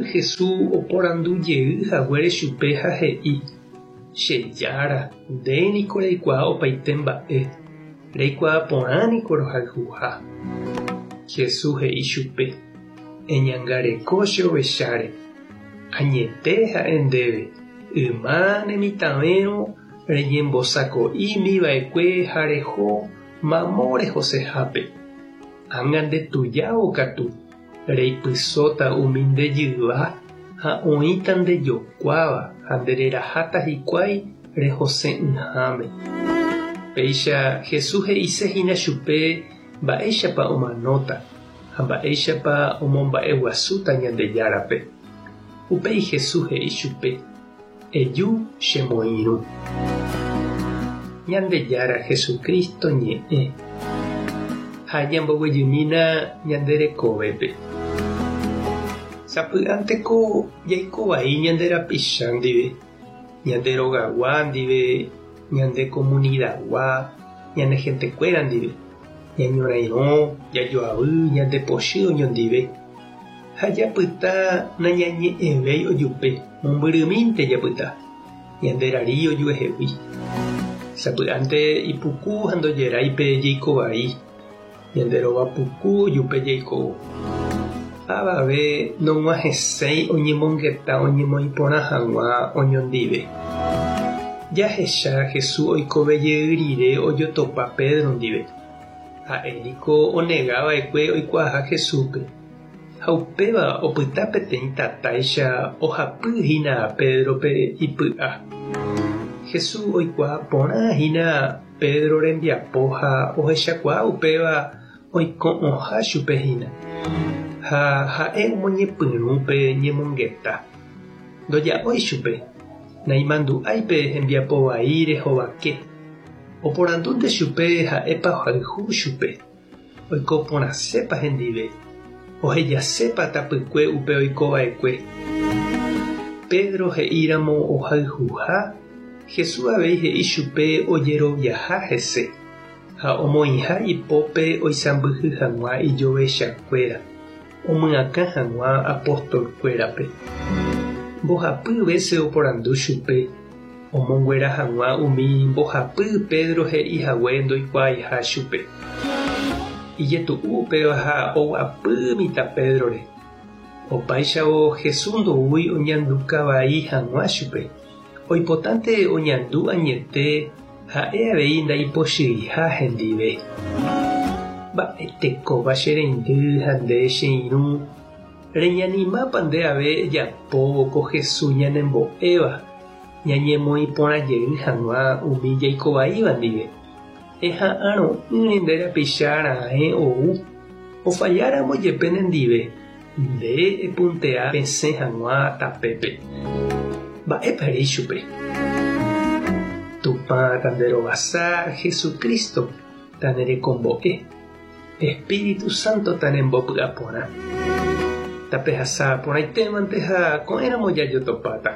Jesús oporandu jey haguére chupe ha he'i, Che Jára, nde niko reikuaa opaite mba'e, reikuaa porã niko rohayhuha. Jesús he'i chupe, Eñangareko che ovecháre. Añete ha'e ndéve, yma ne mitãvérõ reñembosako'ími va'ekue ha reho mamo rehosehápe. Ág̃a nde tujávo katu, reipysóta umi nde jyva ha oĩta nde jokuáva ha nde reraháta hikuái rehose'ỹháme. Péicha Jesús he'ise hína chupe mba'éichapa omanóta ha mba'éichapa omomba'eguasúta Ñandejárape. Upéi Jesús he'i chupe, Eju chemoirũ. Ñandejára Jesucristo ñe'ẽ ha ñamboguejymína ñande rekovépe. Sapy'ánteko jaiko vai ñande rapicha ndive, ñande rogagua ndive, ñande komunidagua, ñane hentekuéra ndive, ñañorairõ, jajoavy, ñande pochy oñondive. Ha japyta nañañe'ẽvéi ojupe, mombyrymínte japyta, ñande rari ojuehegui. Sapy'ánte ipuku ha ndojerái pe jeiko vai, ñande rova puku ojupe jaikóvo. Avave nog̃uahẽséi oñemongeta oñemoĩ porã hag̃ua oñondive. Jahecha Jesús oikove jey rire ojotopa Pedro ndive. Ha'e niko onega va'ekue oikuaaha Jesúspe, ha upéva opyta peteĩ tatáicha ohapy hína Pédrope ipy'a. Jesús oikuaa porã hína Pedro rembiapo ha ohechakuaa upéva oiko'õha chupe hína, ha ha'e omoñepyrũ pe ñemongeta. Ndoja'ói chupe, naimandu'ái pe hembiapo vai rehovake. Oporandúnte chupe ha'épa ohayhu chupe, oiko porãsépa hendive, ohejasépa tapykue upe oiko va'ekue. Pedro he'íramo ohayhuha, Jesús avei he'i chupe ojeroviaha hese ha omoĩha ipópe oisãmbyhy hag̃ua ijovechakuéra, omyakã hag̃ua apostolkuérape. Mbohapy vése oporandu chupe omonguera hag̃ua umi mbohapy Pedro he'i hague ndoikuaaiha chupe. Ijetu'u upéva ha oguapy mitã Pédrore. Opáichavo Jesús ndoúi oñanduka vai hag̃ua chupe, oipotánte oñandu añete ha'e avei ndaipochyiha hendive. Mba'etekópa che reindy ha nde che irũ, reñanimápa nde ave ejapóvo ko Jesús ñanembo'éva? Ñañemoĩ porã jey hag̃ua umi jaikovaíva ndive, eha'arõ'ỹre nde rapicha raẽ ou, ofalláramo jepe nendive, nde epuntea pesẽ hag̃ua tapépe. Mba'épa ere ichupe? Tupã tanderovasa Jesucristo tanerekombo'e, Espíritu Santo tanembopy'aporã. Tapehasa porãitémante ha ko'ẽramo jajotopáta.